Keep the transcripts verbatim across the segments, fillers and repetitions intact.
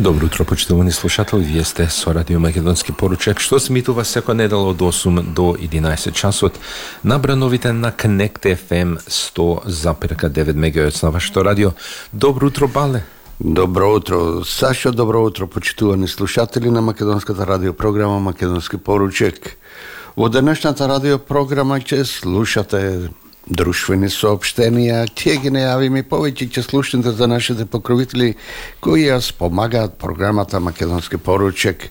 Добро утро, почитувани слушатели. Вие сте со Радио Македонски поручек, што се емитува секоја недела од осум до единаесет часот на брановите на Connect еф ем сто запирка девет мегахерц на вашето радио. Добро утро, Бале. Добро утро, Сашо, добро утро, почитувани слушатели на македонската радиопрограма Македонски поручек. Во денешната радиопрограма ќе слушате друштвени соопштенија, ќе ги најавиме повеќе, ќе слушнете за нашите покровители кои ја спомагаат програмата Македонски поручек.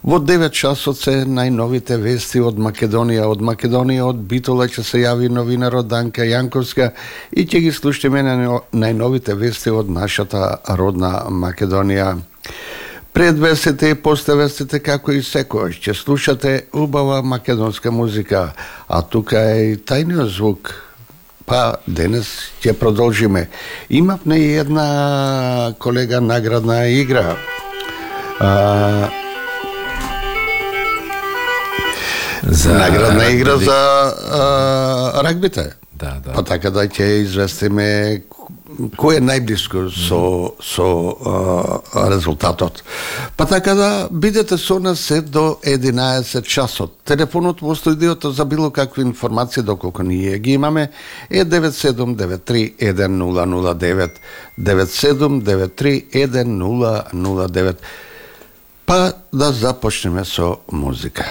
Во девет часот се најновите вести од Македонија. Од Македонија, од Битола ќе се јави новинарот Данка Јанковска и ќе ги слушнеме на најновите вести од нашата родна Македонија. Пред вестите и после вестите, како и секојаш, ќе слушате убава македонска музика, а тука е и тајниот звук. Па денес ќе продолжиме. Имавме и една колега наградна игра. А, за наградна рагби. игра за а, рагбите. Да, да. Па така да ќе известиме кој е најблиско со со а, резултатот. Па така да бидете со нас се до единаесет часот. Телефонот во студиото за било какви информации доколку ние ги имаме е девет седум девет три еден нула нула девет девет седум девет три еден нула нула девет. Па да започнеме со музика.